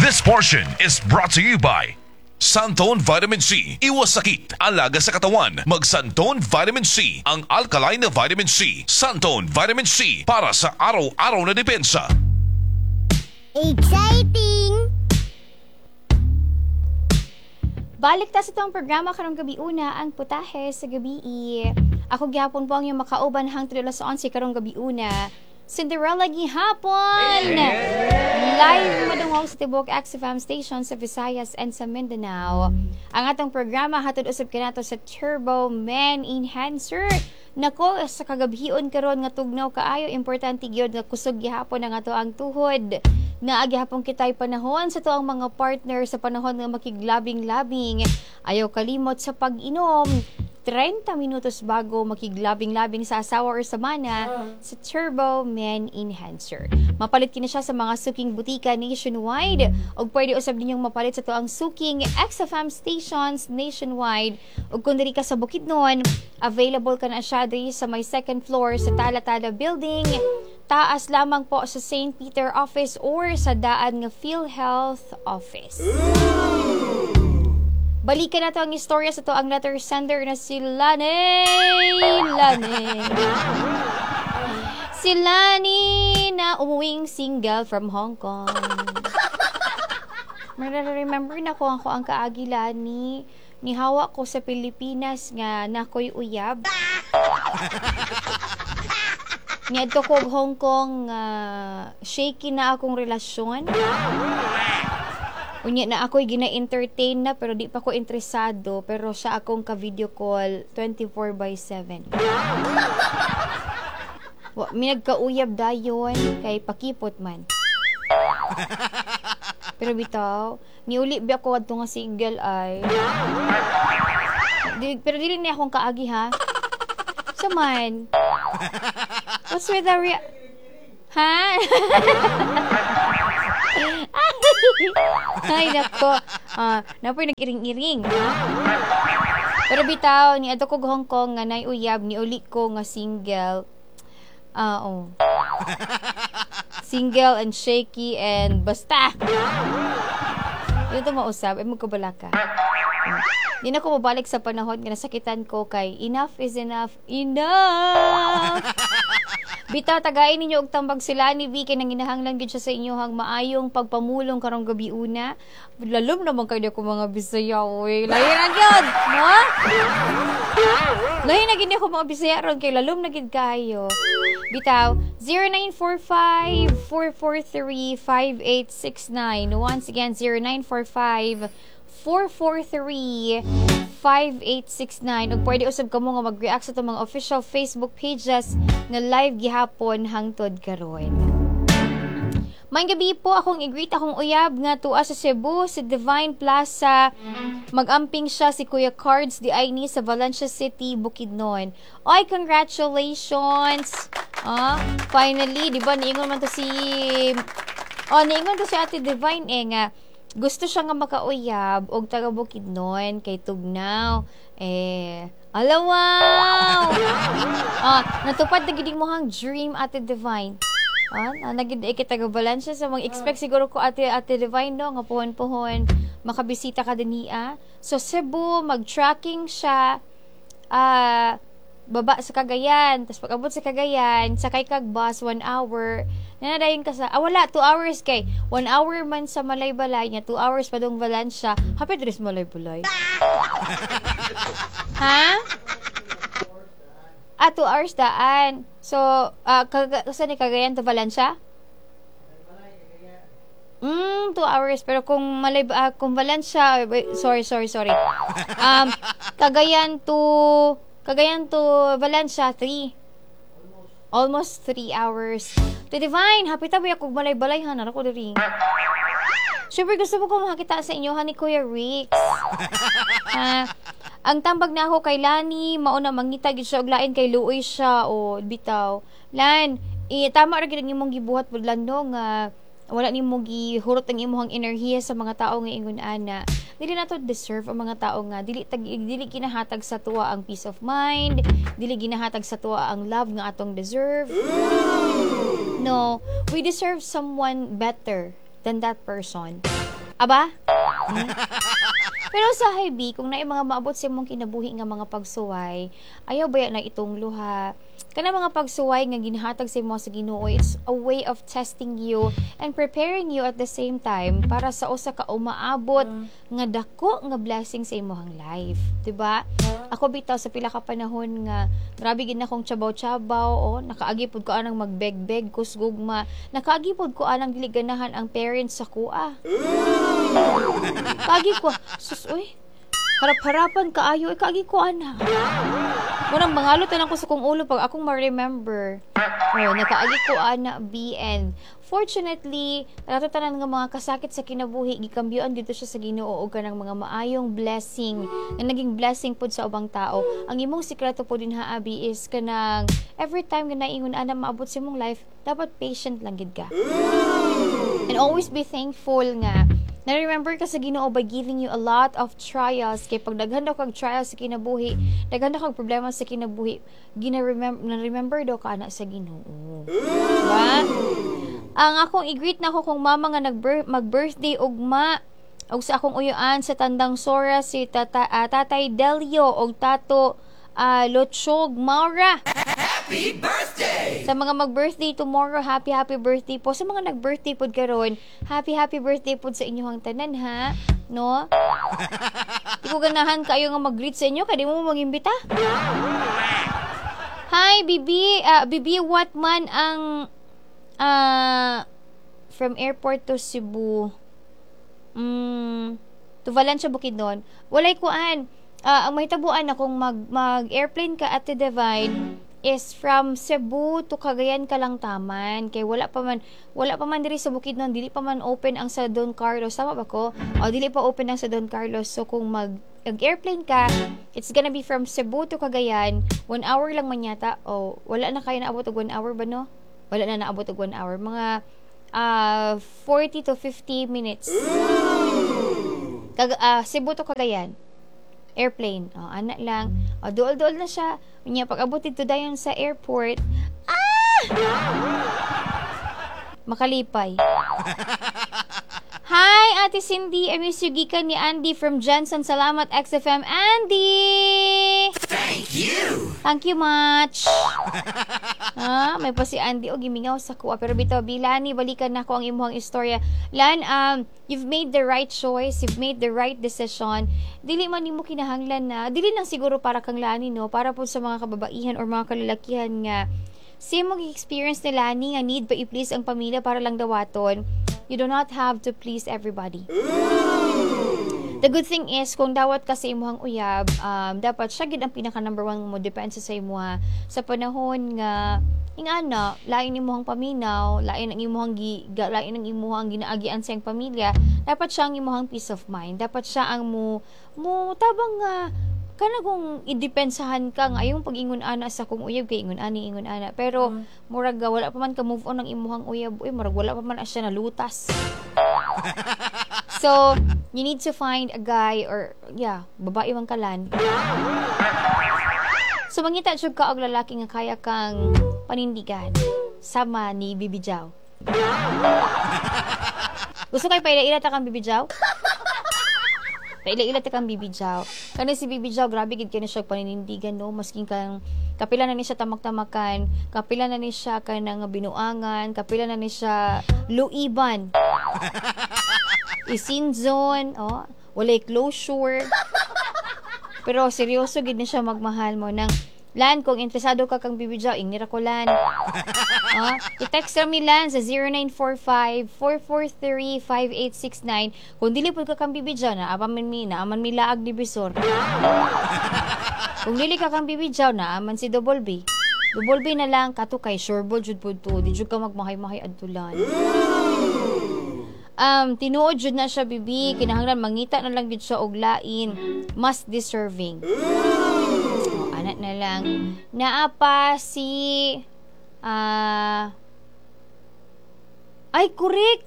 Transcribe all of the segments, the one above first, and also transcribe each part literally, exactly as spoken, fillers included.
This portion is brought to you by Santone Vitamin C. Iwas sakit, alaga sa katawan. Mag Santone Vitamin C, ang alkaline na vitamin C. Santone Vitamin C para sa araw-araw na depensa. Exciting! Balik ta sa atong programa karong gabi una ang putahe sa gabi. Ako gihapon po ang iyong makauban hangtod alas onse karong gabi una. Cinderella gihapon! Live madungog sa tibuok X F M station sa Visayas and sa Mindanao. Ang atong programa hatod usab kanato sa Turbo Man Enhancer. Nako, sa kagabhion karon nga tugnaw kaayo, importante gyud nga kusog gihapon ang ato ang tuhod. Naa gihapon kitay panahon sa atoang mga partner sa panahon nga makiglabing-labing. Ayaw kalimot sa pag-inom trenta minutos bago makiglabing-labing sa asawa or sa mana sa Turbo Man Enhancer. Mapalit kini siya sa mga suking butika nationwide ug pwede usab ninyong mapalit sa atoang suking X F M stations nationwide, ug kung diri ka sa Bukidnon, available ka na siya diri sa may second floor sa Tala-Tala Building, taas lamang po sa Saint Peter Office or sa daan nga PhilHealth Office. Balikan nato ang istorya sa atoang letter sender na si Lani. Lani. Si Lani na umuwing single from Hong Kong. Remember na ko ako ang kaagi, Lani. Nihawa ko sa Pilipinas nga nakoy uyab. Niadto ko og Hong Kong, uh, shaky na akong relasyon. Unya na ako'y gina-entertain na pero di pa ko interesado, pero siya akong ka-video call twenty-four by seven. Wa mi nagkauyab dayon kay pakipot man. Pero bitaw, niuli ba ako adto nga single ay. Di, pero dili niya akong kaagi ha. Sa man. What's with the rea- Ha? Ay, nako. Ah, napoy nag-iring-iring. Ha? Pero bitaw, ni adto ko Hong Kong nga nay uyab, ni uli ko nga single. Ah, oh. Single and shaky and basta. Ito mausab, ay magkabala ka. Hmm. Di na ko mabalik sa panahon nga nasakitan ko kay enough is enough. Enough! Bitaw, tagain ninyo og tambag sila ni V kay nanginahanglan gid siya sa inyohang maayong pagpamulong karong gabi una. Lalom naman kayo ko mga Bisaya, oy. Lahi na gyud, no? Lahi na gid ako mga Bisaya ron kay lalom na gid kayo. Bitaw, zero nine four five, four four three, five eight six nine. Once again, zero nine four five, four four three, five eight six nine. Ug pwede usab kamo nga mag-react sa atong mga official Facebook pages nga live gihapon hangtod karon. Maayong gabi po, akong i-greet akong uyab nga tua sa Cebu, sa Divine Plaza. Mag-amping siya si Kuya Cards di ay ni sa Valencia City, Bukidnon. Oy, congratulations! Ah, finally, di ba niingon man to si Oh, niingon to si Ate Divine eh nga gusto siya nga makauyab og taga Bukidnon kay tugnaw. Eh, ala wow! Ah, natupad na gid mo hang dream, Ate Divine. Ah, na nagid eh kita taga Valencia sa mga expect siguro ko Ate Ate Divine, no, nga puhon-puhon makabisita ka dinhi. So Cebu, mag-tracking siya, ah, baba sa Cagayan, tapos pag abot sa Cagayan, sakay kag bus one hour. Nanadayon ka sa, ah, wala, two hours kay one hour man sa Malaybalay nya two hours pa dong Valencia. Hapit ris Malaybalay. Ha? Ah, two hours daan. So, ah, uh, sa ni Cagayan to Valencia? Mm, two hours. Pero kung Malay, uh, kung Valencia, wait, sorry, sorry, sorry. Um, Cagayan to, Cagayan to Valencia, three. Almost three hours. To Divine, happy tabi ako Malaybalay ha, nara ko diri. Siyempre gusto mo ko makakita sa inyo ha ni Kuya Rix. Ha, ang tambag na ako kay Lani, mauna mangita gid siya og lain kay luoy siya o bitaw. Lan, eh, tama ra gid ang imong gibuhat budlan, no, nga wala nimo gihurot ang imong enerhiya sa mga tao nga ingon ana. Dili nato deserve ang mga tao nga dili tag dili ginahatag sa tuwa ang peace of mind, dili ginahatag sa tuwa ang love nga atong deserve. No, we deserve someone better. than that person. Aba? Hmm? Pero sa B, kung naay mga maabot sa imong kinabuhi nga mga pagsuway, ayaw baya na itong luha. Kana mga pagsuway nga ginhatag sa imo sa Ginoo, it's a way of testing you and preparing you at the same time para sa usa ka umaabot nga dako nga blessing sa imong life, 'di ba? Ako bitaw sa pila ka panahon nga grabe gid na akong tsabaw-tsabaw, oh, nakaagi pud ko anang magbeg-beg ko sa gugma, nakaagi pud ko anang dili ganahan ang parents sa kuha. Kaagi ko, sus uy. Harap-harapan kaayo, eh, kaagi ko ana. Munang mangalot na lang ko sa kong ulo pag akong ma-remember. Oh, nakaagi ko ana B and fortunately, ato tanan nga mga kasakit sa kinabuhi gikambyoan dito siya sa Ginoo og kanang mga maayong blessing nga naging blessing pud sa ubang tao. Ang imong sikreto po din ha Abi is kanang every time nga naingon ana maabot sa imong life, dapat patient lang gid ka. And always be thankful nga na-remember ka sa Ginoo by giving you a lot of trials kay pag daghan daw kag trials sa kinabuhi, daghan daw kag problema sa kinabuhi, gina-remember na-remember daw ka ana sa Ginoo. Diba? Ang akong i-greet na ako kong mama nga nag mag-birthday ugma og sa akong uyuan sa Tandang Sora si tata, uh, Tatay Delio og Tato uh, Lotsyog Maura. Happy birthday! Sa mga mag-birthday tomorrow, happy happy birthday po. Sa mga nag-birthday pod karon, happy happy birthday pod sa inyong tanan ha. No? Di ko ganahan kayo nga mag-greet sa inyo kay di mo mag-imbita. Hi, Bibi. Uh, Bibi, what man ang uh, from airport to Cebu? Mm, to Valencia, Bukidnon. Walay kuan. Uh, ang mahitabuan na kung mag, mag-airplane ka at Divine, is from Cebu to Cagayan ka lang taman kay wala pa man wala pa man diri sa Bukidnon dili pa man open ang sa Don Carlos tama ba ko o dili pa open ang sa Don Carlos so kung mag airplane ka it's gonna be from Cebu to Cagayan one hour lang man yata o wala na kayo naabot og one hour ba no wala na naabot og one hour mga uh, forty to fifty minutes Kag, uh, Cebu to Cagayan airplane. O, ana lang. O, duol-duol na siya. Unya, pag abot dito dayon sa airport, ah! Makalipay. Hi, Ate Cindy. I miss you, gikan ni Andy from Jensen. Salamat, X F M. Andy! Thank you! Thank you much. Ah, may pa si Andy o gimingaw sa kuha. Pero bitaw, Bilani, balikan na ko ang imuhang istorya. Lan, um, you've made the right choice. You've made the right decision. Dili man nimo kinahanglan na, dili lang siguro para kang Lani, no? Para po sa mga kababaihan or mga kalalakihan nga, same mo experience ni Lani nga need ba i-please ang pamilya para lang dawaton. You do not have to please everybody. The good thing is, kung dawat ka sa imuhang uyab, um, dapat siya gid ang pinaka number one mo depensa sa imuha sa panahon nga ingana, lain imuhang paminaw, lain ang imuhang gi, ga, lain ang imuhang ginaagian sa iyang pamilya, dapat siya ang imuhang peace of mind. Dapat siya ang mo mo tabang nga kana kung idepensahan ka nga ayong pag-ingon ana sa kung uyab kay ingon ani ingon ana pero mm. murag wala pa man ka move on ang imuhang uyab uy murag wala pa man siya nalutas. So you need to find a guy or yeah, babae man kalan. So mangita jud ka og lalaki nga kaya kang panindigan sama ni Bibi Jaw. Gusto kay paila-ila ta kang Bibi Jaw? Paila-ila ta kang Bibi Jaw. Kani si Bibi Jaw, grabe gid kini siya paninindigan no, maskin kang kapila na ni siya tamak-tamakan, kapila na ni siya kanang binuangan, kapila na ni siya luiban. Isinzon, oh, walay closure. Pero seryoso gid ni siya magmahal mo nang Lan, kung interesado ka kang Bibi Jaw, ingira ko Lan. Oh, i-text ra mi Lan sa zero nine four five, four four three, five eight six nine. Kung dili pud ka kang Bibi Jaw, naaman mi, naaman mi laag ni Bisor. Kung dili ka kang Bibi Jaw, naaman si Double B. Double B na lang, kato kay sureball jud pud to. Di jud ka magmahay-mahay adtulan. Um, tinuod jud na siya, bibi. Kinahanglan mangita na lang jud siya og lain. Mas deserving. Oh, anak na lang. Naa pa si ah ay, correct.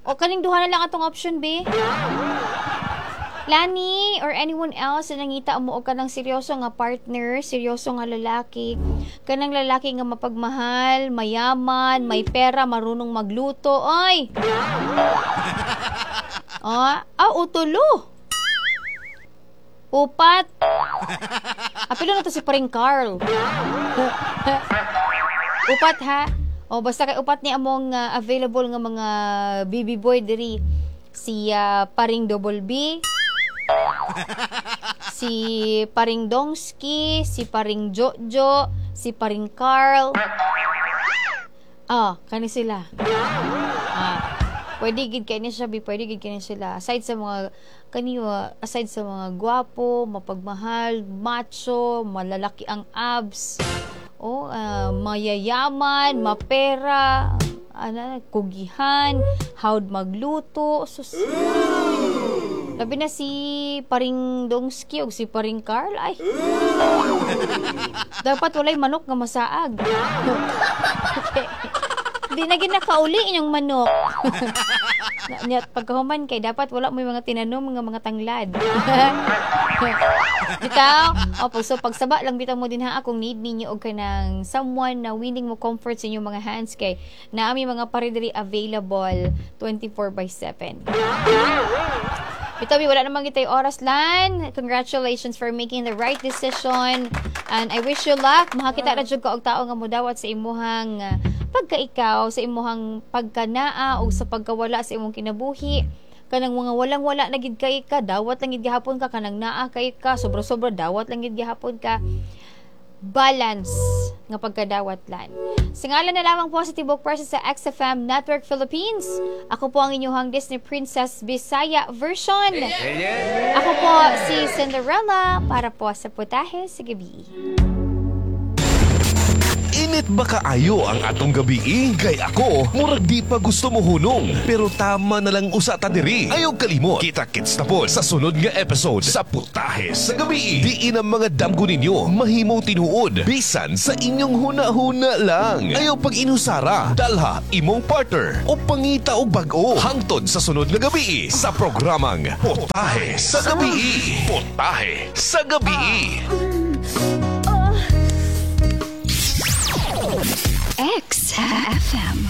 O kaning duha na lang atong option, B. Lani or anyone else na nangita mo og kanang seryoso nga partner, seryoso nga lalaki, kanang lalaki nga mapagmahal, mayaman, may pera, marunong magluto, ay. Ah, ah, utulo. Upat. Apilo na to si Paring Carl. Upat ha. O basta kay upat ni among ah, available nga mga B B boy diri. Si ah, Paring Double B, si Paring Dongski, si Paring Jojo, si Paring Carl. Ah, kani sila. Ah, pwede gid kay ni siya, bi, pwede gid kay ni sila. Aside sa mga kaniyo, aside sa mga gwapo, mapagmahal, macho, malalaki ang abs, oh, ah, mayayaman, mapera, ano, kugihan, hawd magluto, sus. Labi na si Paring Dongski o si Paring Carl. Ay. Dapat walay manok nga masaag. Okay. Di na gid nakauli inyong manok. Na- nya, pagkahuman kay dapat wala mo yung mga tinanom nga mga tanglad. Bitaw, o pag so pagsaba lang bitaw mo din ha kung need ninyo og kanang someone na willing mo comfort sa inyong mga hands kay naami mga pare diri available twenty-four by seven. Bitaw, wala namang gitay oras lan. Congratulations for making the right decision. And I wish you luck. Makakita na jud ka og tao nga mudawat sa imuhang uh, pagka-ikaw, sa imuhang pagkanaa o sa pagkawala sa imong kinabuhi. Kanang mga walang-wala na gid kay ka, dawat lang gid gihapon ka, kanang naa kay ka, sobra-sobra dawat lang gid gihapon ka. Balance nga pagkadawat lan. Sa ngalan na lamang po sa Tibok Press sa X F M Network Philippines, ako po ang inyong Disney Princess Bisaya version. Ako po si Cinderella para po sa Putahe sa Gabi. Init ba kaayo ang atong gabi? Kay ako, murag di pa gusto mo hunong. Pero tama na lang usa ta diri. Ayaw kalimot. Kita-kits na po sa sunod nga episode sa Putahe sa Gabi. Diin ang mga damgo ninyo mahimong tinuod. Bisan sa inyong huna-huna lang. Ayaw pag inusara. Dalha imong partner o pangita og bag-o. Hangtod sa sunod nga gabi sa programang Putahe sa Gabi. Putahe sa Gabi. X F M.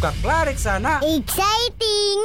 Kaklarik sana. Exciting!